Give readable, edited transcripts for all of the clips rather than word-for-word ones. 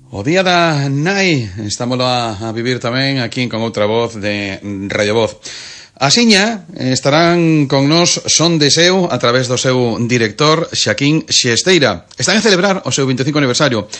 O día da nai, estámoslo a vivir tamén aquí con outra voz de Radio Voz. Asiña estarán con nos Son de Seu a través do seu director Xaquín Xesteira. Están a celebrar o seu 25 aniversario.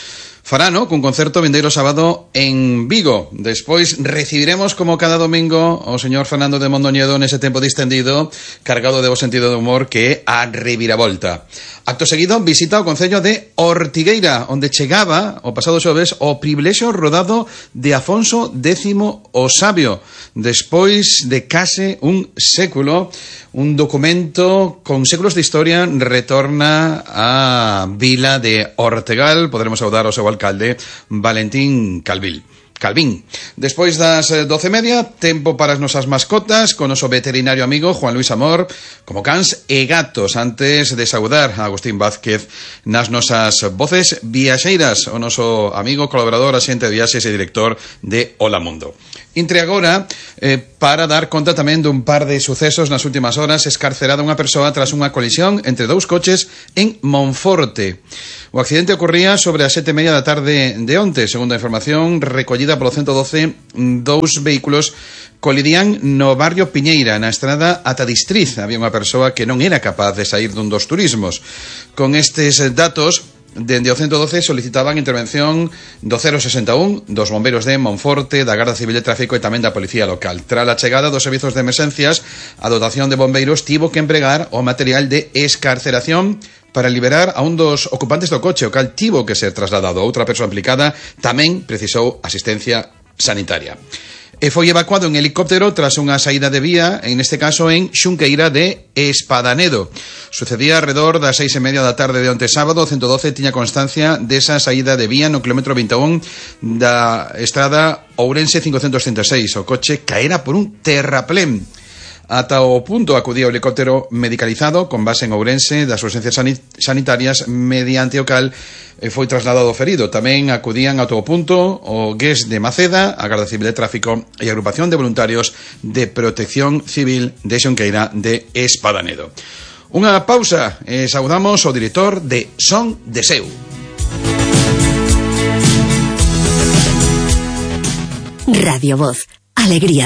Farano cun concerto vindeiro sábado en Vigo. Despois recibiremos como cada domingo o señor Fernando de Mondoñedo nese tempo distendido, cargado de bo sentido de humor que é a reviravolta. Acto seguido, visita ao concello de Ortigueira, onde chegaba o pasado xoves o privilexio rodado de Afonso X o Sabio. Despois de case un século, un documento con séculos de historia retorna á vila de Ortegal. Poderemos saudar ao seu alcalde Valentín Calvín. Despois das 12:30, tempo para as nosas mascotas con o noso veterinario amigo Juan Luis Amor, como cans e gatos. Antes de saudar a Agustín Vázquez nas nosas voces viaxeiras, o noso amigo, colaborador, axente de viaxes e director de Hola Mundo. Intre agora para dar conta tamén dun par de sucesos nas últimas horas. Escarcerada unha persoa tras unha colisión entre dous coches en Monforte. O accidente ocorría sobre as 7:30 da tarde de onte. Segundo a información recollida polo 112, dous vehículos colidían no barrio Piñeira, na estrada ata Distriz. Había unha persoa que non era capaz de sair dun dos turismos. Con estes datos, dende o 112 solicitaban intervención do 061, dos bombeiros de Monforte, da Garda Civil de Tráfico e tamén da Policía Local. Tras a chegada dos servizos de emerxencias, a dotación de bombeiros tivo que empregar o material de escarceración para liberar a un dos ocupantes do coche, o cal tivo que ser trasladado. Outra persoa implicada tamén precisou asistencia sanitaria. E foi evacuado en helicóptero tras unha saída de vía, en este caso en Xunqueira de Espadanedo. Sucedía alrededor das 6:30 da tarde de onte sábado. O 112 tiña constancia desa saída de vía no kilómetro 21 da estrada Ourense 536. O coche caera por un terraplén. Ata o punto acudía o helicóptero medicalizado con base en Ourense das urxencias sanitarias, mediante o cal foi trasladado o ferido. Tamén acudían a todo punto o GES de Maceda, a Garda Civil de Tráfico e a Agrupación de Voluntarios de Protección Civil de Xunqueira de Espadanedo. Unha pausa e saudamos o director de Son de Seu. Radio Voz, alegría